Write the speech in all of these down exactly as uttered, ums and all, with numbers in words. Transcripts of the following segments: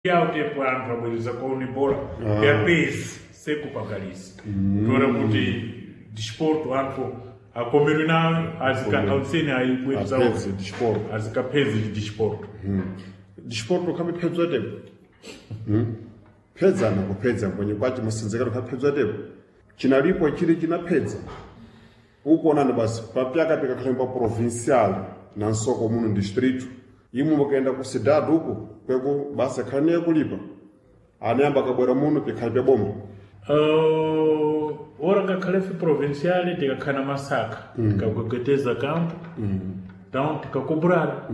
Yawo tepo anthu abwereza kwaone bola ya pezi sekupagalisa toera kuti disporto anthu akomerwe nayo azikaautseni ayibwereza Apedze disporto. azikaphezi disporto Disporto khabe phedzwa tepo. Hmm? Phedzana kuphedza kwenye kwachi musenzekero khaphedzwa tepo. Chinalipo chili chinaphedza. Ukuonani basi papyaka pikakhala pa provincial na nsoko muno distrito. Imwe mukaenda ku cidade uko kweko basi akhala niye kulipa. Anayamba kabwera muno pikhala pya boma. Uh, ora ngakhalefe provincial tikakhala na masaka tikakwekweteza campo então tikakobrar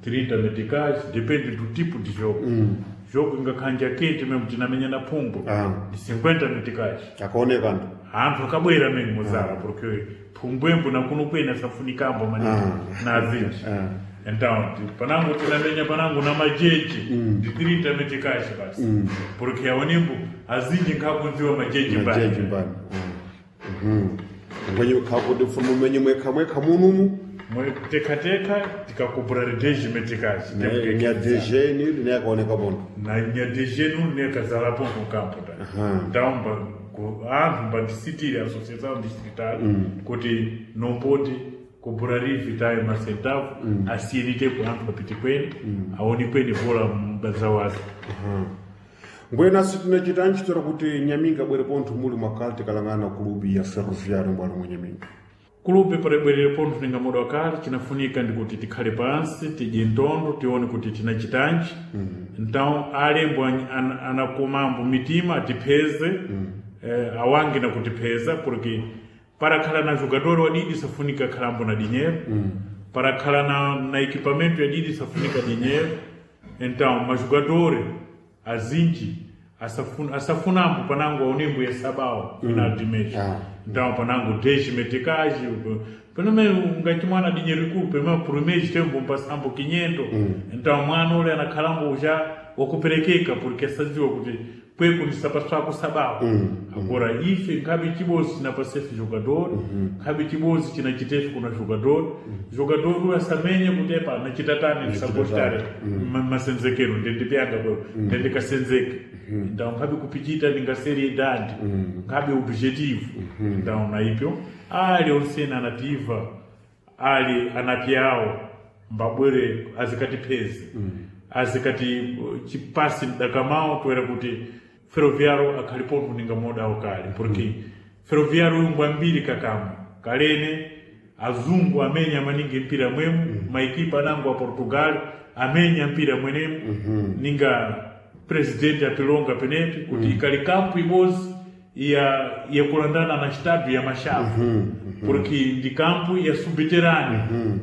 trinta meticais depende do tipo de jogo jogo ingakhanja kete mesmo tinamenya na phumbo Ah. de cinquenta meticais Akaonekana. anthu akabwera mene muzala porque phumbwembo nakuno kwena safunikambo maningi na azinji então ti- panango tinamenya panango na majeje ndi trinta meticais basi porque aonembo azinji nkhakunziwa majeje Majeji mbali mbani. Mhm. Ngwenye khakuti mfumo menye mwekha mwekha munumu. tekateka tikakobrar dez meticais Nya D G ni ni akaoneka bono. Na nya D G nu nekazalapo no campo ta então ba- ku- anthu mbandisitire associação distrital kuti não pode cobrar vitayo macentavo asiyeni tepo anthu apite kwene aone kwene bola mbazawaza. Mbwenaso tinachita ntchito kuti Nyaminga abwere pontho muli mwakale tikalang'ana kulubi ya Ferroviário mbwalo mwa Nyaminga. Kulupe palibwerere pontho ninga muda wakale chinafunika ndikuti tikhale pansi tidye ntondo tione kuti tinachitanji. Então alembo an- an- anakomambo mitima atipheze eh, awange na kutipheza porque para khala na jogador wadidi safunika khalambo na dinheiro, para khala na, na equipamento yadidi safunika dinheiro. Então majogador azinji asafuna, asafunambo panango aonembo ya sabao final de mês. Ah. Então panango dez meticais penome ungati mwana dinheiro ikulu pema por mês tempo mpasambo quinhentos. Então mwana ule anakhalambo já wakuperekeka porque asadziwa kuti kweko ndisapaswako sabao. Agora ife nkhabe chibozi chinapasefe jogador, nkhabe chibozi chinachitefe kuna jogador, jogador uyu asamenye kuti epa nachitatani ndisagostare masenzekero ndendipyanga kweko ndendikasenzeke. Então nkhabe kupichita ndingaseri idadi nkhabe objetivo. Então naipyo ali onsene anativa ali anapyawo mbabwere azikatipheze azikati uh, chipasi mdakamao toera kuti Ferroviário akhali pontho ninga modawo kale porque Ferroviário uyu ambiri kakamo kalene azungu amenya maningi mpira mwemu maekipa anango a Portugal amenya mpira mwenemu ninga presidente apilonga penepi kuti ikali kampu ibozi ya yakulandana na estádio ya Machado porque ndi kampu ya subterrâneo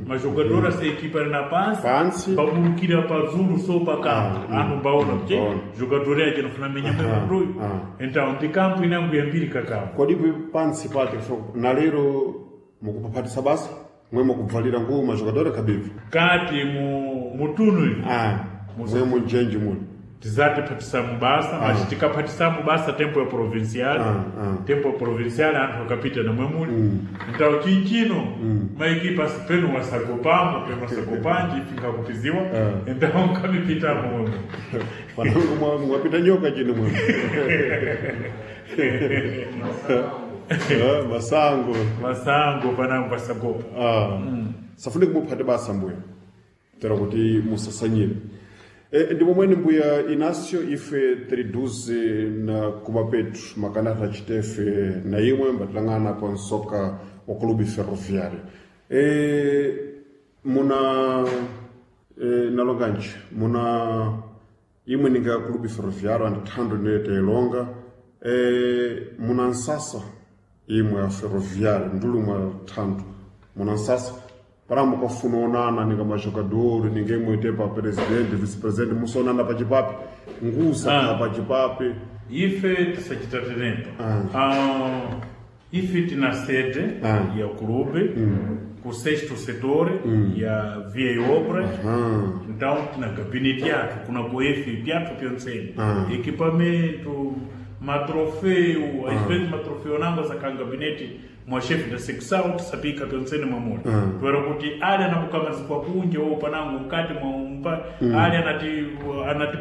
majogador essa equipa era na pansi Pansi. pabulukira pazulu so pa kampu anthu mbaona kuti Baona. jogador aje nofuna menya mwemwe ah. então ndi kampu inango yambiri kakampu. Kodi pansi pake so, na lero mukupaphatisa basa mwe mukubvalira nguwo majogador akhabivi Kati mu mutuno ah mwe munjenji muli tizati phatisa mubasa mas tikaphatisa mubasa tempo ya provincial Ah, ah. tempo ya provincial anthu akapita na mwemuli. Então chinchino maekipa penu wasagopamo penu wasagopanji ifingakupiziwa então nkamipitamo mwemwe. Panango mwa- mwapita nyoka chino mwe. Ah, masango. Masango panango pasagopa. Ah. Safunika muphate basa mbuya tera kuti musasanyire e, ndi momweni mbuya Inácio ife tiriduze na kuba petu makanata chitefe na imwe mbatilang'ana pa nsoka wa Clube Ferroviário e, muna e, nalonganji muna imwe ninga Clube Ferroviário andithando nete ilonga e, muna nsasa imwe ya Ferroviário ndulu mwa thando muna nsasa para mukafuna onana ninga majogador ninge mwite pa presidente vice-presidente musonana pachipapi ngusa Ah. pachipapi. Ife tisachita tenepo ah. Ife tina sede Ah. ya clube ku sexto setor ya via e obras. Então tina gabinete yathu kuna ku efe pyathu pyontsene equipamento matrofeu às vezes matrofeu nango asakhala gabinete. mwa chefe da secção tisapika pensene mwamuli mm. Twera kuti ali anakukama zikwa kunje wo panango mkati mwa umpa mm. Ali anati anati